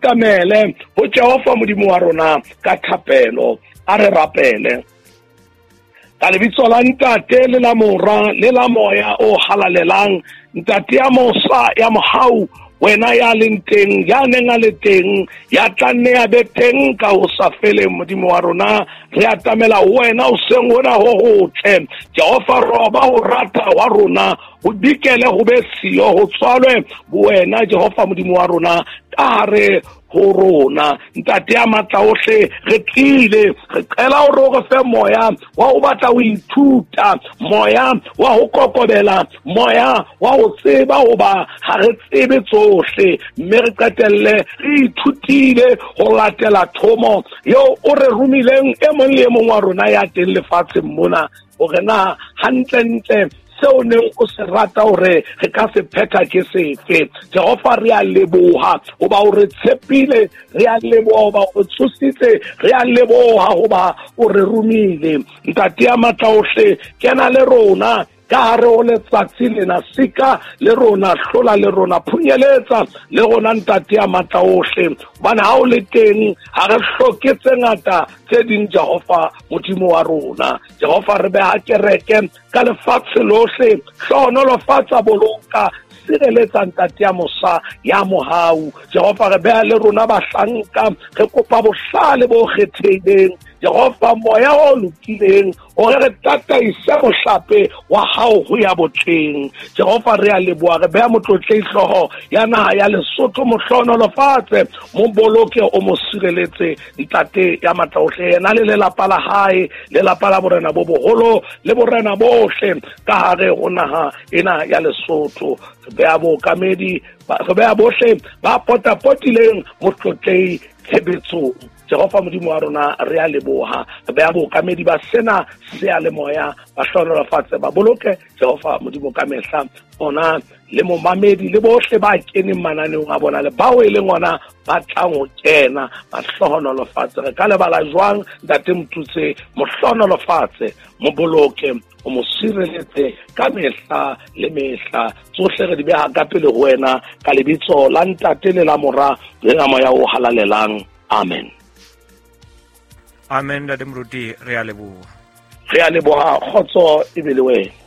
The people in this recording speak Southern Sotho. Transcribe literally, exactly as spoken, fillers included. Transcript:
atamele ho Jehova Modimo wa rona ka thapelo. A re rapele. Ka lebitso la Ntate le la Mora le la Moya o halalelang, Ntate ya mosa ya mohau, wena ya leng teng, ya neng a le teng, ya tla nne ya be teng ka ho sa feleng. Modimo wa rona, re atamela ho wena hoseng hona ho hotle. Jehova, roba ho rata wa rona, ho dikele ho be siyo, ho tswalwe wena Jehova Modimo wa rona ka hare ho rona. Ntate ya matla ohle, re tlile, re qela hore o re fe moya wa ho batla ho ithuta, moya wa ho kokobela, moya wa ho tseba hoba ha re tsebe tsohle, mme re qetelle re ithutile ho latela thomo eo o re romileng e mong le e mong wa rona ya teng lefatsheng mona, hore na hantlentle seo neng o se rata hore re ka se phetha ke sefe. Jehova, re a leboha hoba o re tshepile, re a leboha hoba o tsositse, re a leboha hoba o re romile. Ntate ya matla ohle, kena le rona ka hare ho letsatsi lena, sika le rona, hlola le rona, phunyeletsa le rona Ntate ya matla ohle, hobane ha o le teng ha re hloke tse ngata tse ding. Jehova Modimo wa rona, Jehova, re beha kereke ka lefatshe lohle, hlohonolofatsa, boloka, sireletsa Ntate ya mosa ya mohau. Jehova, re beha le rona bahlanka, re kopa bohlale bo kgethehileng, Jehova, moya o lokileng, hore re tataise mohlape wa hao ho ya botleng. Jehova, re a leboha, re beha motlotlehi hlooho ya naha ya Lesotho, mo hlohonolofatse, mo boloke, o mo sireletse Ntate ya matla ohle, yena le lelapa la hae, lelapa la borena bo boholo le borena bohle ka hare ho naha ena ya Lesotho. Re beha bookamedi, re beha bohle ba potapotileng motlotlehi tshebetsong. Jehova Modimo wa rona, re a leboha, re beha bookamedi ba sena seyalemoya, ba hlohonolofatse, ba boloke Jehova Modimo ka mehla, ona le momamedi le bohle ba keneng mananeong a bona le bao e leng ona ba tlang ho kena, ba hlohonolofatse. Re ka lebala jwang Ntate Motutse? Mo hlohonolofatse, mo boloke, o mo sireletse ka mehla le mehla. Tsohle re di beha ka pele ho wena ka lebitso la Ntate le la Mora le la Moya o halalelang. Amen. Amen. Ntate Moruti, re a leboha. Re a leboha. Kgotso e be le wena.